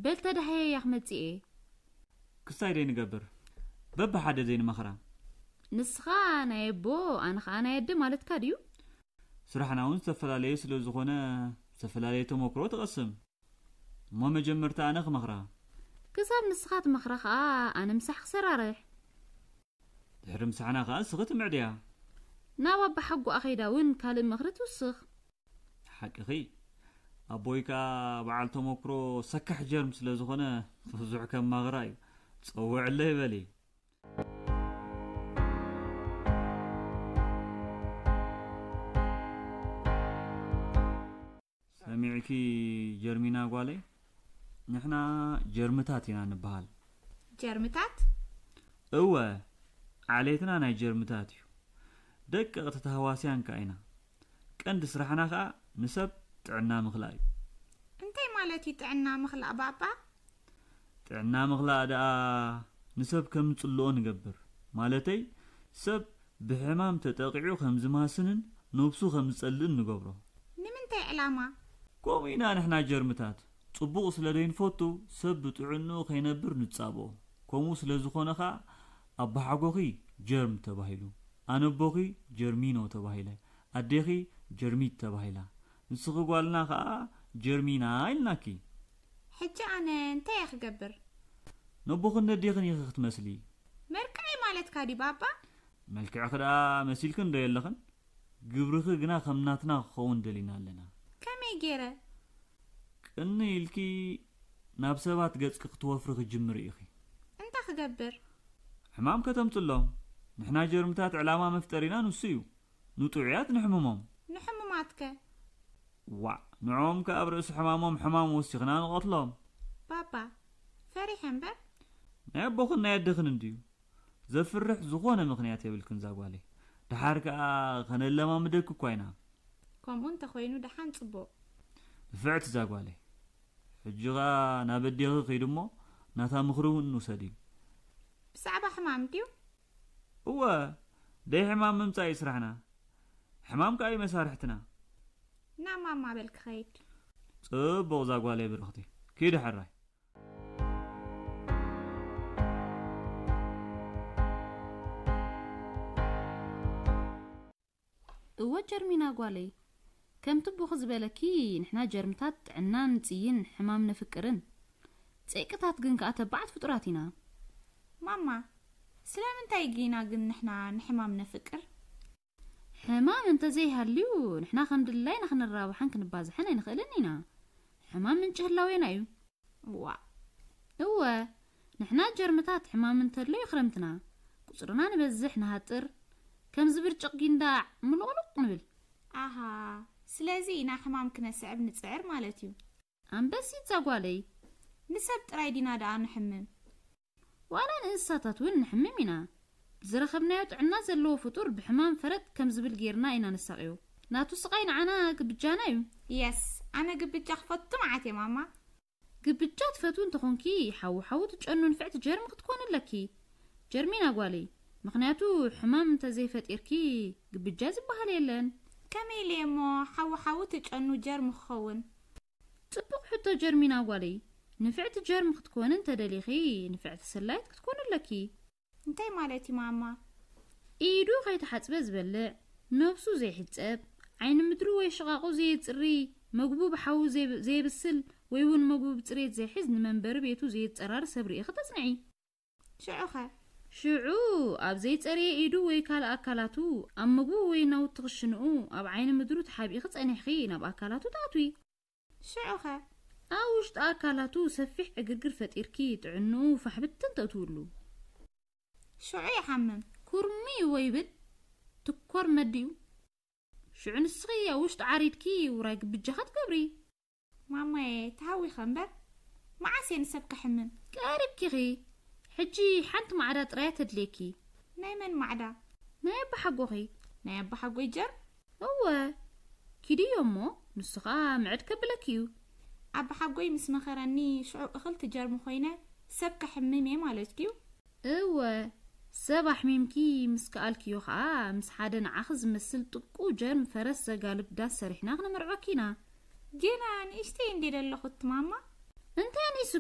በል ተዳህየ እያ ክመጽእ እየ። ክሳይ ደይ ንገብር? በብሓደ ዘይንመኽራ። ንስኻ ናይ ኣቦ፣ ኣነ ኸኣ ናይ ኣደ ማለትካ ድዩ? ስራሕና እውን ዝተፈላለየ ስለ ዝኾነ፣ ዝተፈላለየ ተመክሮ ትቐስም። እሞ መጀመርታ ኣነ ክመኽራ። ክሳብ ንስኻ ትመኽራ ኸኣ ኣነ ምሳሕ ክሰራርሕ። ድሕሪ ምሳሕና ኸኣ ንስኺ ትምዕድያ። ናብ ኣባሓጎኣ ኸይዳ እውን ካልእ ምኽሪ ትውስኽ። ሓቅኺ። ኣቦይ ከኣ በዓል ተመክሮ ሰካሕ ጀርም ስለ ዝኾነ ብዙሕ ከማኽራ እዩ። ጸውዕለይ በሊ። ሰሚዕኪ ጀርሚና ጓለይ፣ ንሕና ጀርምታት ኢና ንበሃል። ጀርምታት? እወ፣ ዓሌትና ናይ ጀርምታት እዩ። ደቀቕቲ ተህዋስያን ከኣ ኢና። ቀንዲ ስራሕና ከኣ ንሰብ ጥዕና ምኽላእ እዩ። እንታይ ማለት እዩ ጥዕና ምኽላእ ባባ? ጥዕና ምኽላእ ደኣ ንሰብ ከም ዝጽልኦ ንገብር። ማለተይ፣ ሰብ ብሕማም ተጠቒዑ ከም ዝማስንን ነብሱ ከም ዝጸልእን ንገብሮ። ንምንታይ ዕላማ? ከምኡ ኢና ንሕና ጀርምታት። ጽቡቕ ስለ ዘይንፈቱ ሰብ ብጥዕንኡ ከይነብር ንጻብኦ። ከምኡ ስለ ዝኾነ ኸኣ ኣባሓጎኺ ጀርም ተባሂሉ፣ ኣነቦኺ ጀርሚኖ ተባሂለ፣ ኣዴኺ ጀርሚት ተባሂላ፣ ንስኺ ጓልና ኸኣ ጀርሚና ኢልናኪ። ሕጂ ኣነ እንታይ እየ ክገብር? ነቦኽን ነዴኽን ኢኺ ክትመስሊ። መርቅዐይ ማለትካ ድዩ ባባ? መልክዕኺ ደኣ መሲልክን ዶ የለኽን? ግብርኺ ግና ከም ናትና ክኸውን ደሊና ኣለና። ከመይ ገይረ? ቅኒ ኢልኪ ናብ ሰባት ገጽኪ ክትወፍሪ ክጅምሪ ኢኺ። እንታይ ክገብር? ሕማም ከተምጽሎም። ንሕና ጀርምታት ዕላማ መፍጠሪና ንሱ እዩ። ንጥዑያት ንሕምሞም። ንሕሙማትከ? ዋዕ፣ ንዕኦም ከኣ ኣብ ርእሲ ሕማሞም ሕማም ወሲኽና ንቐትሎም። ባባ፣ ፈሪሐ እምበር። ናይ ኣቦኽን ናይ ኣደኽን እንድዩ። ዘፍርሕ ዝኾነ ምኽንያት የብልክን ዛጓለይ። ደሓር ከኣ ከነለማምደኪ እኳ ኢና። ከምኡ እንተኾይኑ ደሓን ጽቡቕ። ንፍዕቲ ዛጓለይ። ሕጂ ኸኣ ናብ ኣዴኺ ኺድ እሞ ናታ ምኽሪ እውን ውሰዲ። ብዛዕባ ሕማም ድዩ? እወ፣ ደይ ሕማም ምምጻእ እዩ ስራሕና። ሕማም ከኣ እዩ መሳርሕትና። ናብ ማማ በል ክኸይድ። ጽቡቕ ዛጓለይ ብርኽቲ። ኪዲ ሕራይ። እወ ጀርሚና ጓለይ፣ ከምቲ ኣቦኺ ዝበለኪ ንሕና ጀርምታት ጥዕና ንጽይን ሕማም ነፍቅርን። ጸይቅታት ግን ከኣ ተባዓት ፍጡራት ኢና። ማማ፣ ስለምንታይ ጊና ግን ንሕና ንሕማም ነፍቅር? ሕማም እንተዘይሃልዩ ንሕና ከም ድላይና ክንራባሕን ክንባዝሕን ኣይንኽእልን ኢና። ሕማም ምንጪ ህላዌና እዩ። ዋእ! እወ፣ ንሕና ጀርምታት ሕማም እንተሎ እዩ ክረምትና። ቁጽርና ንበዝሕ ንሃጥር፣ ከምዚ ብርጭቕ ጊንዳዕ ምሉቕሉቕ ንብል። ኣሃ፣ ስለዚ ኢና ሕማም ክነስዕብ ንጽዕር ማለት እዩ። ኣንበሲት ዛጓለይ። ንሰብ ጥራይ ዲና ደኣ ንሕምም? ዋላ ንእንስሳታት እውን ንሕምም ኢና። ብዝረኸብናዮ ጥዕና ዘለዎ ፍጡር ብሕማም ፈረጥ ከም ዝብል ጌርና ኢና ነሳቕዮ። ናቱ ስቓይ ንዓና ግብጃና እዩ። የስ፣ ኣነ ግብጃ ክፈቱ መዓት እየ ማማ። ግብጃ ትፈትዊ እንተኾንኪ፣ ሓዊ ሓዊ ትጨኑ ንፍዕቲ ጀርሚ ክትኮኒ ኣለኪ። ጀርሚና ጓለይ፣ ምኽንያቱ ሕማም እንተዘይፈጢርኪ ግብጃ ዝበሃል የለን። ከመይ ኢለ እሞ ሓዊ ሓዊ ትጨኑ ጀርሚ ክኸውን? ጽቡቕ ሕቶ ጀርሚና ጓለይ። ንፍዕቲ ጀርሚ ክትኮኒ እንተደሊኺ፣ ንፍዕቲ ሰላይት ክትኮኒ ኣለኪ። እንታይ ማለት እዩ ማማ? ኢዱ ከይተሓጽበ ዝበልዕ፣ ነብሱ ዘይሕጸብ፣ ዓይኒ ምድሩ ወይ ሽቓቑ ዘየጽሪ፣ መግቡ ብሓዊ ዘይ-፣ ዘየብስል ወይ እውን መግቡ ብጽሬት ዘይሕዝ ንመንበሪ ቤቱ ዘየጸራሪ ሰብ ርኢኺ ተጽንዒ። ሽዑኸ? ሽዑ ኣብ ዘይጸረየ ኢዱ ወይ ካልእ ኣካላቱ፣ ኣብ መግቡ ወይ ናውቲ ክሽንኡ፣ ኣብ ዓይኒ ምድሩ ተሓቢእኺ ጸኒሕኺ ናብ ኣካላቱ ትኣትዊ። ሽዑኸ? ኣብ ውሽጢ ኣካላቱ ሰፊሕ ዕግርግር ፈጢርኪ ጥዕንኡ ፋሕብትን ተእትውሉ። ሽዑ ይሓምም። ኩርምይ ወይ ብል ትኮር መዲኡ። ሽዑ ንስኺ ኣብ ውሽጢ ዓሪድኪ ውራይ ግብጃኻ ትገብሪ። ማማየ፣ ተሃዊኸ እምበር፣ መዓስ እየ ንሰብ ከሕምም? ቀሪብኪ ኢኺ። ሕጂ ሓንቲ ማዕዳ ጥራይ እያ ተድልየኪ። ናይ መን ማዕዳ? ናይ ኣባሓጎኺ። ናይ ኣባሓጎይ ጀር? እወ፣ ኪድዮ እሞ፣ ንሱ ኸኣ ምዕድ ከብለኪ እዩ። ኣባሓጎይ ምስ መኸረኒ፣ ሽዑ እኽልቲ ጀርሚ ኮይነ ሰብ ከሕምም እየ ማለት ድዩ? እወ፣ ሰብ ኣሕሚምኪ ምስ ከኣልክዮ ኸኣ፣ ምስ ሓደ ንዓኺ ዝመስል ጥቁ ጀርም ፈረስ ዘጋልብ ዳስ ሰሪሕና ክነመርዖኪ ኢና። ግና ንእሽተይ እንዴ ደለኹ እቲ ማማ? እንታይ ኣኒሱ?